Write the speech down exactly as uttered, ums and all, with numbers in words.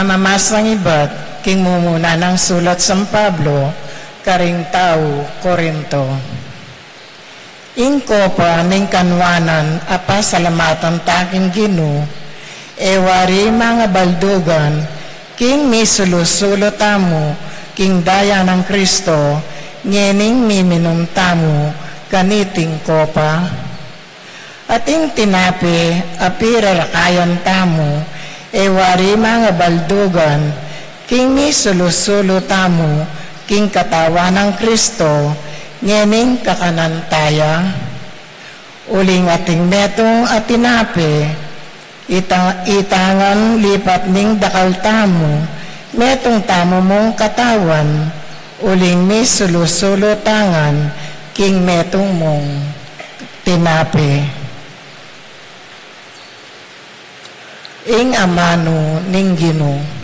Pamamasang ibat king mumuna nang sulat San Pablo karing tau Corinto. Ing kopa ning kanwanan a pasalamatan ta king Ginu, e wari mangabaldugan, king misulu-sulu tamu king daya nang Kristo, ngening miminum tamu kaniting kopa. At ing tinape a pirarakayan tamu, e wari mangabaldugan, king misulu-sulu tamu king katawan nang Kristo, ngening kakanan ta ya. Uling ating metung a tinape, ita-, itangan lipat ning dakal tamu, metung tamu mung katawan, uling misulu-sulu tangan king metung mung tinape. Ing amanu ning Ginu.